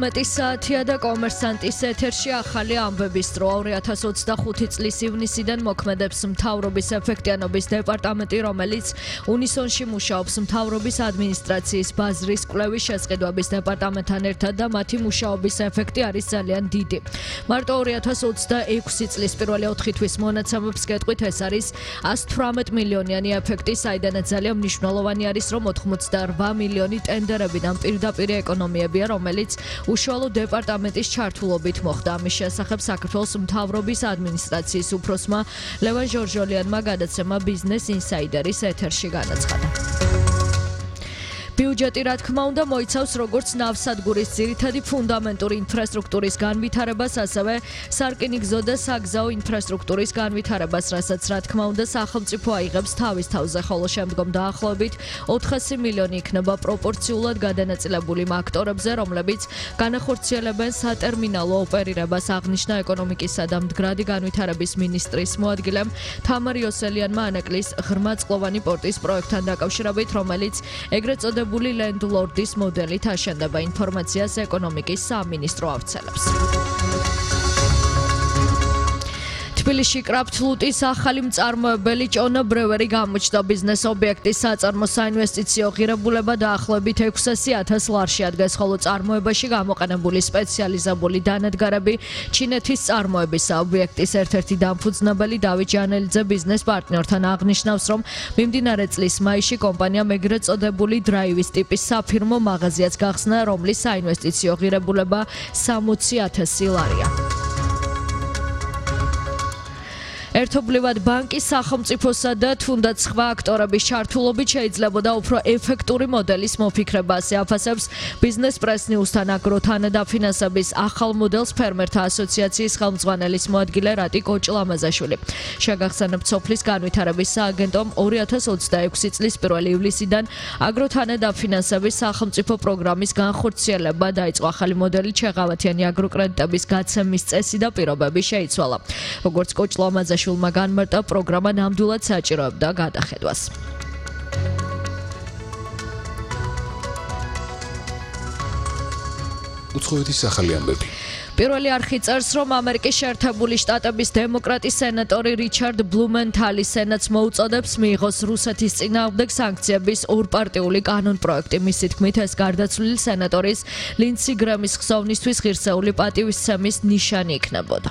მეტისაათია და კომერსანტის ეთერში ახალი ამბების დრო 2025 წლის ივნისიდან მოქმედებს მთავრობის ეფექტიანობის დეპარტამენტი, რომელიც უნისონში მუშაობს მთავრობის ადმინისტრაციის ბაზრის კვლევის შესყიდვების დეპარტამენტთან ერთად და მათი მუშაობის ეფექტი არის ძალიან დიდი. მარტო 2026 წლის პირველი 4 თვის მონაცემებს გეტყვით, ეს არის 118 მილიონიანი ეფექტი, საიდანაც ძალიან მნიშვნელოვანი არის, რომ 88 მილიონი ტენდერებიდან პირდაპირ ეკონომიებია, რომელიც უშუალო დეპარტამენტის ჩართულობით მოხდა. ამის შესახებ საქართველოს მთავრობის ადმინისტრაციის უფროსმა ლევან ჟორჟოლიანმა გადაცემა ბიზნეს ინსაიდერის ეთერში განაცხადა. ბიუჯეტი, რა თქმა უნდა, მოიცავს როგორც ნავსადგურის ძირითადი ფუნდამენტური ინფრასტრუქტურის განვითარებას, ასევე სარკინიგზო და საგზაო ინფრასტრუქტურის განვითარებას, რასაც რა თქმა უნდა სახელმწიფო აიღებს თავის თავზე, ხოლო შემდგომ დაახლოებით 400 მილიონი იქნება პროპორციულად გადანაწილებული იმ აქტორებზე, რომლებიც განახორციელებენ სატერმინალო ოპერირებას, აღნიშნა ეკონომიკისა და მდგრადი განვითარების მინისტრის მოადგილემ თამარ იოსელიანმა ანაკლის ღრმაწყლოვანი პორტის პროექტთან დაკავშირებით, რომელიც ეგრეთ წოდებული ლენდლორდის მოდელით აშენდება. ინფორმაციას ეკონომიკის სამინისტრო ავრცელებს. თბილისში კრაფტლუტის ახალი მწარმოებელი ჭონა ბრევერი გამოჩნდა. ბიზნეს ობიექტის საწარმო საინვესტიციო ღირებულება დაახლოებით 600,000 ლარში ადგეს, ხოლო წარმოებაში გამოყენებული სპეციალიზებული დანადგარები ჩინეთის წარმოებისა. ობიექტის ერთ-ერთი დამფუძნებელი დავით ჟანელიძე ბიზნეს პარტნიორთან აღნიშნავს, რომ მიმდინარე წლის მაისში კომპანიამ ეგრეთ წოდებული დრაივის ტიპის საფირმო მაღაზიაც გახსნა, რომლის საინვესტიციო ღირებულება 60,000 ლარია. ერთობლივად ბანკის, სახელმწიფოსა და თუნდაც სხვა აქტორების ჩართულობით შეიძლებოდა უფრო ეფექტური მოდელის მოფიქრება, ასე აფასებს ბიზნეს პრეს ნიუსთან აგროთანადაფინანსების ახალ მოდელს ფერმერთა ასოციაციის ხელმძღვანელის მოადგილე რატი კოჭლამაზაშვილი. შეგახსენებთ, სოფლის განვითარების სააგენტომ 2026 წლის 1 ივლისიდან აგროთანადაფინანსების სახელმწიფო პროგრამის განხორციელება დაიწყო. ახალი მოდელი ჩეღავათიანი აგროკრედიტების გაცემის წესი და პირობები შეიცვალა. როგორც კოჭლამაზაშვილი შულმა განმარტა, პროგრამა ნამდვილად საჭიროებდა გადახედვას. უცხოეთის ახალი ამბები. პირველი არხი წერს, რომ ამერიკის შეერთებული შტატების დემოკრატი სენატორი რიჩარდ ბლუმენთალი სენატს მოუწოდებს მიიღოს რუსეთის წინააღმდეგ სანქციების ორპარტიული კანონპროექტი. მისი თქმით, ეს გარდაცვლილი სენატორის ლინდსი გრემის ხსოვნისთვის ღირსეული პატივისცემის ნიშანი იქნებოდა.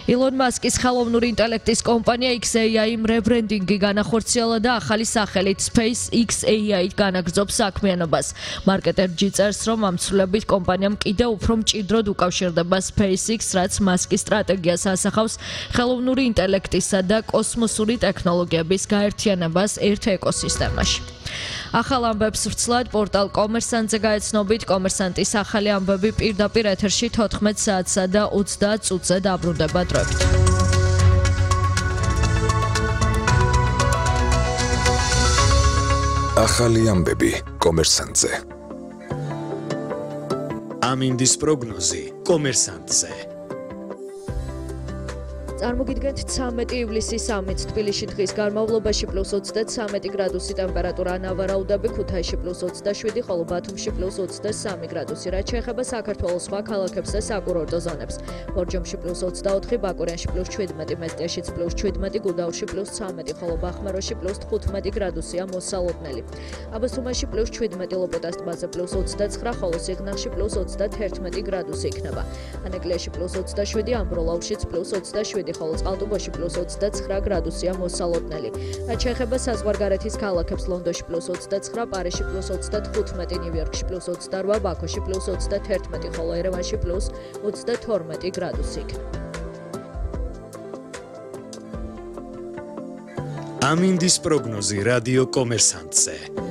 ილონ მასკის ხელოვნური ინტელექტის კომპანია XAI-იმ რებრენდინგი განახორციელა და ახალი სახელით SpaceX-AI განაგრძობს საქმიანობას. მარკეტერჯი წერს, რომ ამ ცვლილებით კომპანიამ კიდევ უფრო მჭიდროდ უკავშირდება SpaceX, რაც მასკის სტრატეგიას ასახავს ხელოვნური ინტელექტისა და კოსმოსური ტექნოლოგიების გაერთიანებას ერთ ეკოსისტემაში. ახალ ამბებს ვრცლად პორტალ კომერსანტზე გაეცნობით. კომერსანტის ახალი ამბები პირდაპირ ეთერში 14 საათსა და 30 წუთზე დაბრუნდება დროებით. ახალი ამბები კომერსანტზე. ამინდის პროგნოზი კომერსანტზე. წარმოგიდგენთ 13 ივლისის სამით თბილისში დღის განმავლობაში +23 გრადუსი ტემპერატურა, ნავარაუდები ქუთაისში +27, ხოლო ბათუმში +23 გრადუსი. რაც შეეხება საქართველოს სხვა ქალაქებს და საკურორტო ზონებს, ბორჯომში +24, ბაკურიანში +17, მესტიაშიც +17, გუდაურში +13, ხოლო ბახმაროში +15 გრადუსია მოსალოდნელი. აბასთუმანში +17, ლოპოტას ტბაზე +29, ხოლო სიღნაღში +31 გრადუსი იქნება. ანეკლიაში +27, ამბროლაურშიც +27, ხოლო წყალტუბოში +29 გრადუსია მოსალოდნელი. რაც შეეხება საზღვარგარეთის ქალაქებს, ლონდონში +29, პარიზში +35, ნიუ-იორკში +28, ბაქოში +31, ხოლო ერევანში +22 გრადუსი იქნება. ამინდის პროგნოზი რადიო კომერსანტზე.